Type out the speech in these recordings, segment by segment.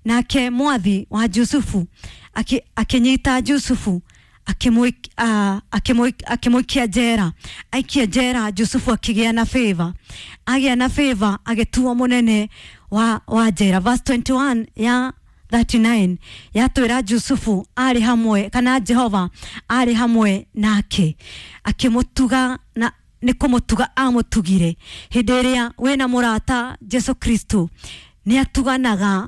Nake mwathi wa Jusufu akĩnyita Jusufu, akĩmũikia njera. Aikia njera Jusufu akĩgĩa na favor, agĩa na favor agĩtuo mũnene wa njera. Verse 21 ya 39 yatwĩra Jusufu arĩ hamwe, kana Jehova arĩ hamwe nake, akĩmũtuga na nĩ kũmũtuga amũtugire. Hĩndĩ ĩrĩa wĩna mũrata Jesu Kristo, nĩ atuganaga,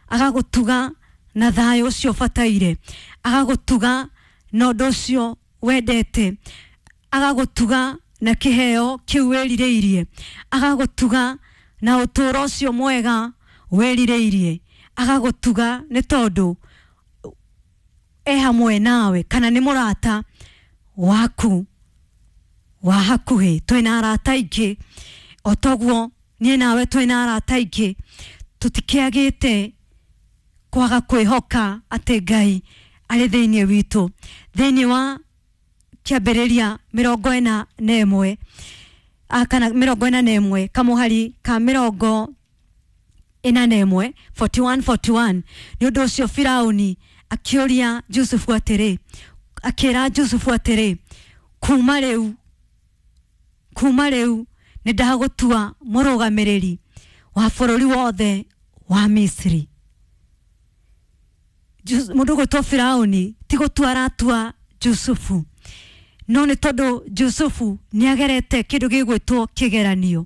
agagũtuga na thayũ ũcio ũbataire, agagũtuga na ũndũ ũcio wendete, agagũtuga na kĩheo kĩu wĩrirĩirie, agagũtuga na ũtũũro ũcio mwega wĩrirĩirie, agagũtuga nĩ tondũ e hamwe nawe, kana nĩ mũrata waku wa hakuhĩ. Twĩna arata aingĩ, o toguo niĩ nawe twĩna arata aingĩ, tũtikĩagĩte kwaga kwĩhoka atĩ Ngai arĩ thĩinĩ witũ. Thĩinĩ wa Kĩambĩrĩria 41, kana 41 kamũhari ka 41, 41 41. Nĩ ũndũ ũcio Firauni akĩũria Jusufu atĩrĩ, akĩra Jusufu atĩrĩ, Kuma rĩu nĩ ndagũtua mũrũgamĩrĩri wa bũrũri wothe wa Misiri." Mũndũ ũgwĩtwo Firauni ti gũtua aratua Jusufu, no nĩ tondũ Jusufu nĩ agerete kĩndũ gĩgwĩtwo kĩgeranio,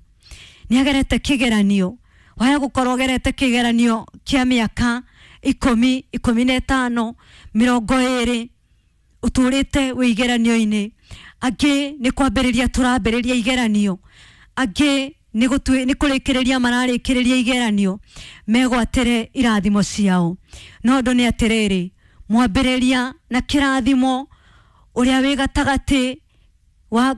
nĩ agerete kĩgeranio. Waya gũkorwo ũgerete kĩgeranio kĩa mĩaka 10, 15, 20, ũtũrĩte wĩ igeranio-inĩ. Angĩ nĩ kwambĩrĩria tũrambĩrĩria igeranio, angĩ nĩ kũrĩkĩrĩria mararĩkĩrĩria igeranio megwatĩre irathimo ciao. No ũndũ nĩ atĩrĩrĩ, mwambĩrĩria na kĩrathimo, ũrĩa wĩ gatagatĩ wa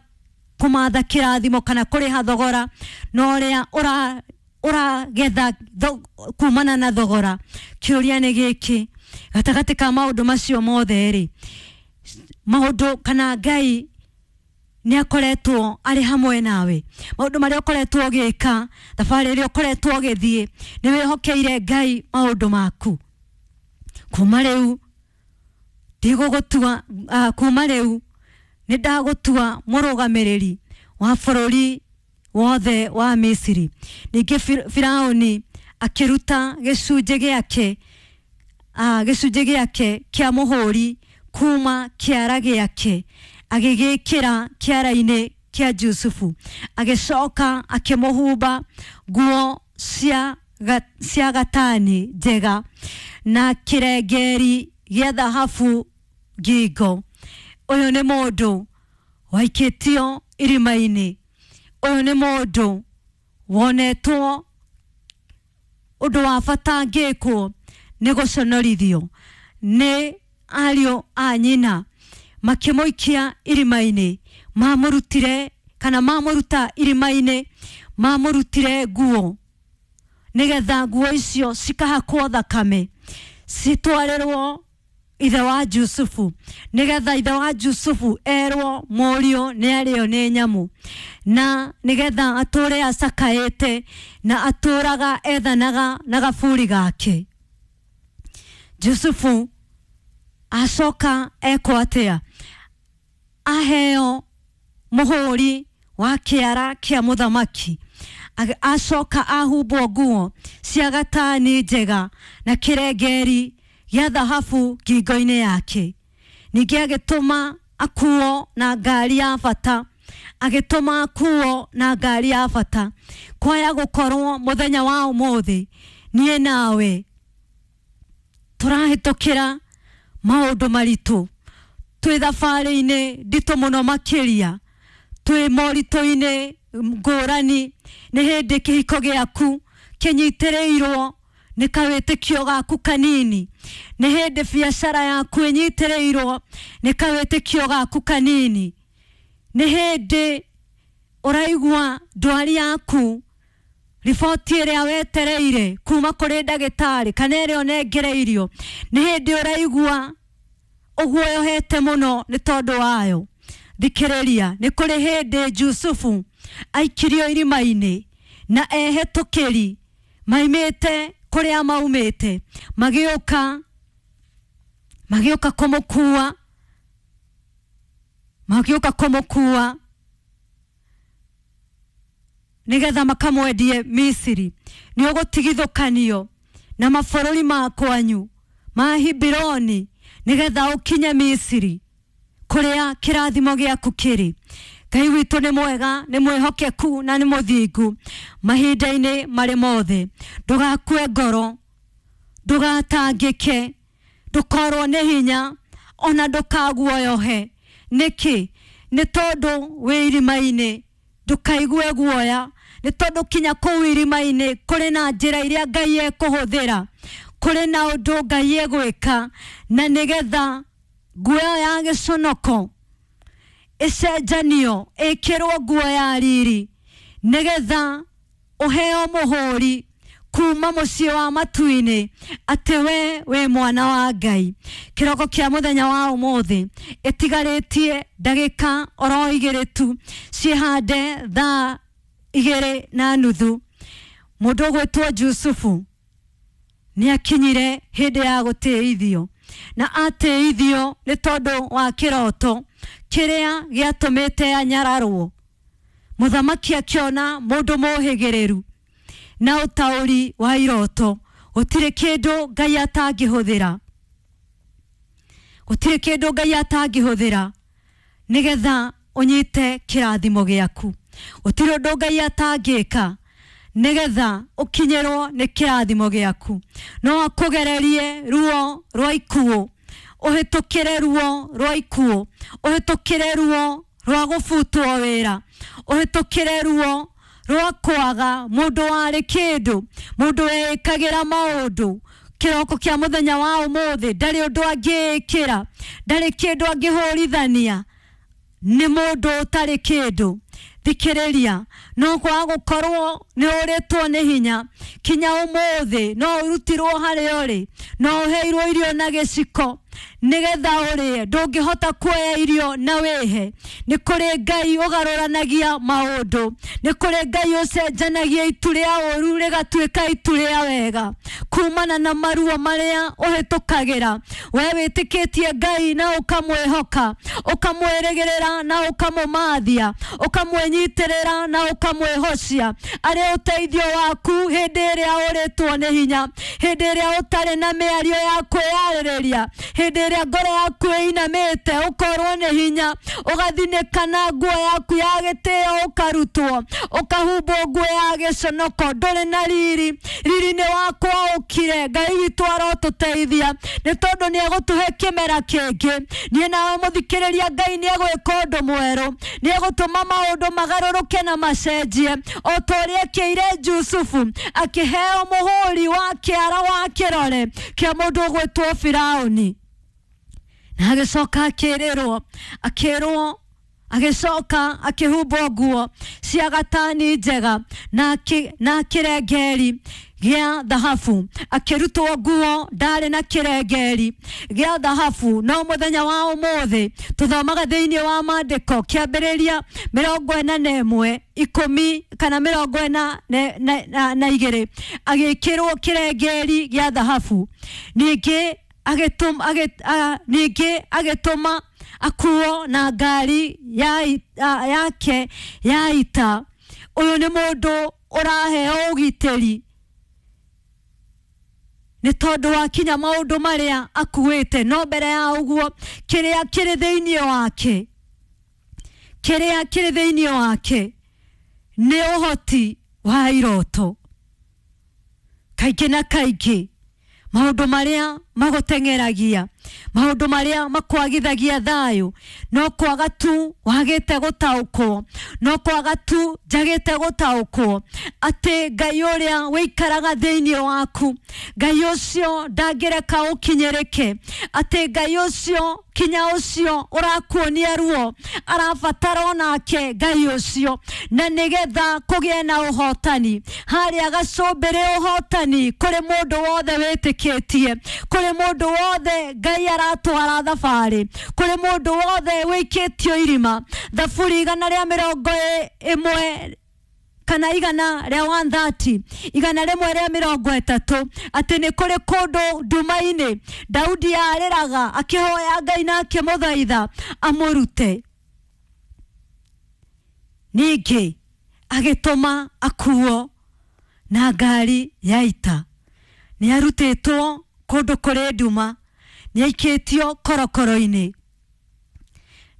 kũmatha kĩrathimo kana kũrĩha thogora, na ũrĩa ũragetha kumana na thogora, kĩũria nĩ gĩkĩ: gatagatĩ ka maũndũ macio mothe rĩ, maũndũ kana Ngai nĩ akoretwo arĩ hamwe nawe? Maũndũ marĩa ũkoretwo ũgĩka, thabarĩ ĩrĩa ũkoretwo ũgĩthiĩ, nĩ wĩhokeire Ngai maũndũ maku? Kuma rĩu ndigũgũtua, kuma rĩu nĩ ndagũtua mũrũgamĩrĩri wa bũrũri wothe wa Misiri. Ningĩ Firauni akĩruta gĩcunjĩ gĩake kĩa mũhũri kuma kĩara gĩake, agĩgĩkĩra kĩara-inĩ kĩa Jusufu, agĩcoka akĩmũhumba nguo cia gatani njega na kĩrengeri gĩa thahabu ngingo. Ũyũ nĩ mũndũ waikĩtio irima-inĩ, ũyũ nĩ mũndũ wonetwo ũndũ wa bata angĩkwo nĩ gũconorithio nĩ ariũ a nyina, makĩmũikia irima-inĩ. Mamũrutire, kana mamũruta irima-inĩ, mamũrutire nguo nĩgetha nguo icio cikahakwo thakame citwarĩrwo ithe wa Jusufu, nĩgetha ithe wa Jusufu erwo mũriũ nĩ arĩo nĩ nyamũ, na nĩgetha atũre acakaĩte na atũraga ethanaga na gaburi gake. Jusufu acoka ekwo atĩa? Aheo mũhũri wa kĩara kĩa mũthamaki, acoka ahumbwo nguo cia gatani njega na kĩrengeri gĩa thahabu ngingo-inĩ yake. Ningĩ agĩtũma akuo na ngari ya bata, agĩtũma akuo na ngari ya bata. Kwaya gũkorwo mũthenya wa ũmũthĩ niĩ nawe tũrahĩtũkĩra maũndũ maritũ, twĩ thabarĩ-inĩ nditũ mũno makĩria, twĩ moritũ-inĩ ngũrani. Nĩ hĩndĩ kĩhiko gĩaku kĩnyitĩrĩirwo nĩ kawĩtĩkio gaku kanini, nĩ hĩndĩ biacara yaku ĩnyitĩrĩirwo nĩ kawĩtĩkio gaku kanini, nĩ hĩndĩ ũraigua ndwari yaku, riboti ĩrĩa wetereire kuma kũrĩ ndagĩtarĩ kana ĩrĩa ũnengereirio, nĩ hĩndĩ ũraigua ũguoyohete mũno nĩ tondũ wayo. Thikĩrĩria, nĩ kũrĩ hĩndĩ Jusufu aikirio irima-inĩ na ehetũkĩri maimĩte kũrĩa maumĩte magĩũka magĩũka kũmũkua magĩũka kũmũkua nĩgetha makamwendie Misiri. Nĩ ũgũtigithũkanio na mabũrũri ma kwanyu ma Hibironi nĩgetha ũkinye Misiri kũrĩa kĩrathimo gĩaku kĩrĩ. Ngai witũ nĩ mwega, nĩ mwĩhokeku na nĩ mũthingu mahinda-inĩ marĩ mothe. Ndũgakue ngoro, ndũgatangĩke, ndũkorwo nĩ hinya ona ndũkaguoyohe. Nĩkĩ? Nĩ tondũ wĩ irima-inĩ, ndũkaigue guoya, nĩ tondũ kinya kũu irima-inĩ kũrĩ na njĩra iria Ngai ekũhũthĩra, kũrĩ na ũndũ Ngai egwĩka, na nĩgetha nguo ĩyo ya gĩconoko ĩcenjanio ĩkĩrwo nguo ya riri, nĩgetha ũheo mũhũri kuma mũciĩ wa matu-inĩ atĩ we wĩ mwana wa Ngai. Kĩroko kĩa mũthenya wa ũmũthĩ ĩtigarĩtie ndagĩka oro igĩrĩ tu ciĩhande thaa 2:30. Mũndũ ũgwĩtwo Jusufu nĩ akinyire hĩndĩ ya gũtĩithio, na atĩithio nĩ tondũ wa kĩroto kĩrĩa gĩatũmĩte anyararwo. Mũthamaki akĩona mũndũ mũhĩgĩrĩru na ũtaũri wa iroto. Gũtirĩ kĩndũ Ngai atangĩhũthĩra, gũtirĩ kĩndũ Ngai atangĩhũthĩra nĩgetha ũnyite kĩrathimo gĩaku. Gũtirĩ ũndũ Ngai atangĩka nĩgetha ũkinyĩrwo nĩ kĩrathimo gĩaku. No akũgererie ruo rwa ikuũ, ũhĩtũkĩre ruo rwa ikuũ, ũhĩtũkĩre ruo rwa gũbutwo wĩra, ũhĩtũkĩre ruo rwa kwaga mũndũ warĩ kĩndũ, mũndũ weĩkagĩra maũndũ. Kĩroko kĩa mũthenya wa ũmũthĩ ndarĩ ũndũ angĩĩkĩra, ndarĩ kĩndũ angĩhũrithania, nĩ mũndũ ũtarĩ kĩndũ. Thikĩrĩria, no kwaga gũkorwo nĩ ũrĩtwo nĩ hinya kinya ũmũthĩ, no ũrutirwo harĩa ũrĩ, no ũheirwo irio na gĩciko nĩgetha ũrĩe, ndũngĩhota kuoya irio na wĩhe. Nĩ kũrĩ Ngai ũgarũranagia maũndũ, nĩ kũrĩ Ngai ũcenjanagia itu rĩa ũru rĩgatuĩka itu rĩa wega kumana na maruo marĩa ũhĩtũkagĩra. We wĩtĩkĩtie Ngai na ũkamwĩhoka, ũkamwĩrĩgĩrĩra na ũkamũmathia, ũkamwĩnyitĩrĩra na ũkamwĩhocia arĩ ũteithio waku hĩndĩ ĩrĩa ũrĩtwo nĩ hinya, hĩndĩ ĩrĩa ũtarĩ na mĩario ya kwĩyarĩrĩria, hĩndĩ ĩrĩa ngoro yaku ĩinamĩte ũkorwo nĩ hinya, ũgathinĩka na nguo yaku ya gĩtĩo, ũkarutwo ũkahumbwo nguo ya gĩconoko, ndũrĩ na riri, riri nĩ wakwa ũkire. Ngai witũ arotũteithia nĩ tondũ nĩ egũtũhe kĩmera kĩngĩ. Niĩ nawe mũthikĩrĩria, Ngai nĩ egwĩka ũndũ mwerũ, nĩ egũtũma maũndũ magarũrũke na macenjie o ta ũrĩa ekĩire Jusufu, akĩheo mũhũri wa kĩara wa kĩrore kĩa mũndũ ũgwĩtwo Firaũni. Na agĩcoka akĩrĩrwo, akĩrwo, agĩcoka akĩhumbwo nguo cia gatani njega na kĩrengeri gĩa thahabu, akĩrutwo nguo ndarĩ na kĩrengeri gĩa thahabu. No mũthenya wa ũmũthĩ tũthomaga thĩinĩ wa maandĩko kĩambĩrĩria 41 10 kana 42, agĩkĩrwo kĩrengeri gĩa thahabu. Ningĩ agĩtũma akuo na ngari yake ya ita. Ũyũ nĩ mũndũ ũraheo ũgitĩri nĩ tondũ wa kinya maũndũ marĩa akuĩte. No mbere ya ũguo, kĩrĩa kĩrĩ thĩinĩ wake, kĩrĩa kĩrĩ thĩinĩ wake nĩ ũhoti wa iroto. Kaingĩ na kaingĩ maũndũ marĩa magũteng'eragia, maũndũ marĩa makwagithagia thayũ, no kwaga tu wagĩte gũtaũkwo, no kwaga tu njagĩte gũtaũkwo atĩ Ngai ũrĩa wĩikaraga thĩinĩ waku, Ngai ũcio ndangĩreka ũkinyĩrĩke, atĩ Ngai ũcio kinya ũcio ũrakuonia ruo arabatara onake Ngai ũcio, na nĩgetha kũgĩe na ũhotani harĩa gacũmbĩrĩ, ũhotani kũrĩ mũndũ wothe wĩtĩkĩtie, kũrĩ mũndũ wothe Ngai aratwara thabarĩ, kũrĩ mũndũ wothe wĩikĩtio irima. Thaburi 111 kana igana rĩa 130, igana rĩmwe rĩa mĩrongo ĩtatũ, atĩ nĩ kũrĩ kũndũ nduma-inĩ Daudi arĩraga akĩhoya Ngai na akĩmũthaitha amũrute. Ningĩ agĩtũma akuo na ngari ya ita. Nĩ arutĩtwo kũndũ kũrĩ nduma, nĩ aikĩtio korokoro-inĩ.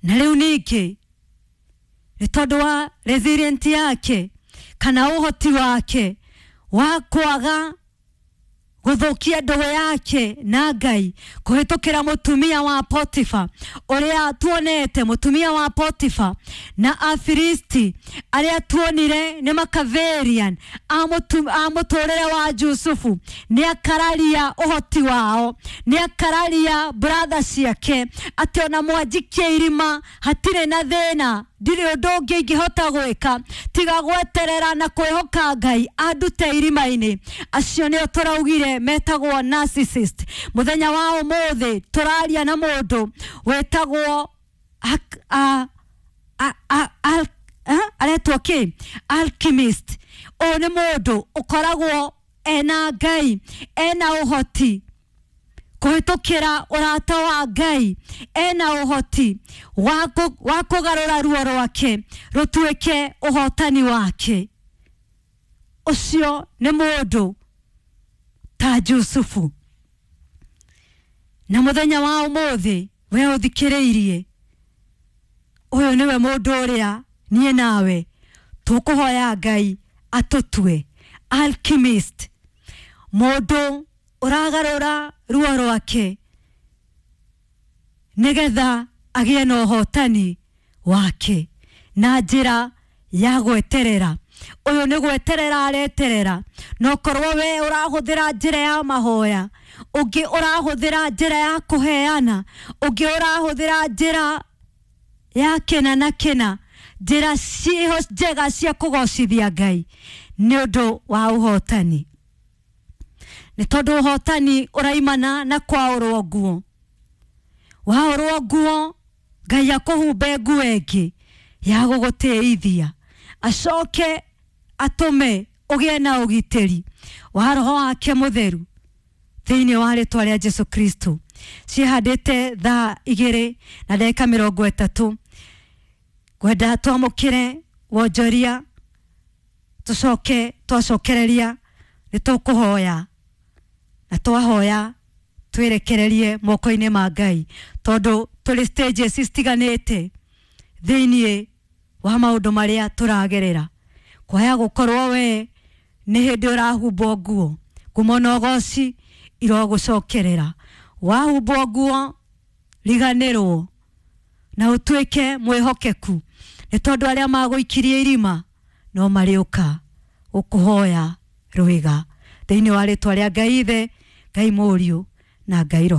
Na rĩu ningĩ nĩ tondũ wa resilient yake kana ũhoti wake wa kwaga gũthũkia ndũgũ yake na Ngai kũhĩtũkĩra mũtumia wa Potifa ũrĩa tuonete, mũtumia wa Potifa na Afilisti arĩa tuonire nĩ Makaverian a mũtũrĩre wa Jusufu. Nĩ akararia ũhoti wao, nĩ akararia brother ciake atĩ ona mwanjikie irima hatirĩ na thĩna, ndirĩ ũndũ ũngĩ ingĩhota gwĩka tiga gweterera na kwĩhoka Ngai andute irima-inĩ. Acio nĩo tũraugire metagwo narcissist. Mũthenya wa ũmũthĩ tũraria na mũndũ wetagwo aretwo kĩ? Alchemist. Ũyũ nĩ mũndũ ũkoragwo ena Ngai, ena ũhoti kũhĩtũkĩra ũrata wa Ngai, ena ũhoti wa kũgarũra ruo rwake rũtuĩke ũhotani wake. Ũcio nĩ mũndũ ta Jusufu. Na mũthenya wa ũmũthĩ we ũthikĩrĩirie, ũyũ nĩwe mũndũ ũrĩa niĩ nawe tũkũhoya Ngai atũtue alchemist, mũndũ ũragarũra ruo rwake nĩgetha agĩe na ũhotani wake na njĩra ya gweterera. Ũyũ nĩ gweterera areterera, no korwo we ũrahũthĩra njĩra ya mahoya, ũngĩ ũrahũthĩra njĩra ya kũheana, ũngĩ ũrahũthĩra njĩra ya kĩna na kĩna, njĩra ciĩho njega cia kũgocithia Ngai nĩ ũndũ wa ũhotani. Nĩ tondũ ũhotani ũraimana na kwaũrwo nguo. Waũrwo nguo Ngai akũhumbe nguo ĩngĩ ya gũgũtĩithia, acoke atũme ũgĩe na ũgitĩri wa roho wake mũtheru thĩinĩ wa rĩtwa rĩa Jesu Kristo. Ciĩhandĩte thaa 2:30. Ngwenda twamũkĩre wonjoria, tũcoke twacokereria nĩ tũkũhoya, na twahoya twĩrekererie moko-inĩ ma Ngai, tondũ tũrĩ stages citiganĩte thĩinĩ wa maũndũ marĩa tũragerera. Kwaya gũkorwo we nĩ hĩndĩ ũrahumbwo nguo, ngumo na ũgoci irogũcokerera. Wahumbwo nguo riganĩrwo na ũtuĩke mwĩhokeku, nĩ tondũ arĩa magũikirie irima no marĩũka gũkũhoya rwĩga. Thĩinĩ wa rĩtwa rĩa Ngai Ithe, Ngai Mũriũ na Ngai Roho.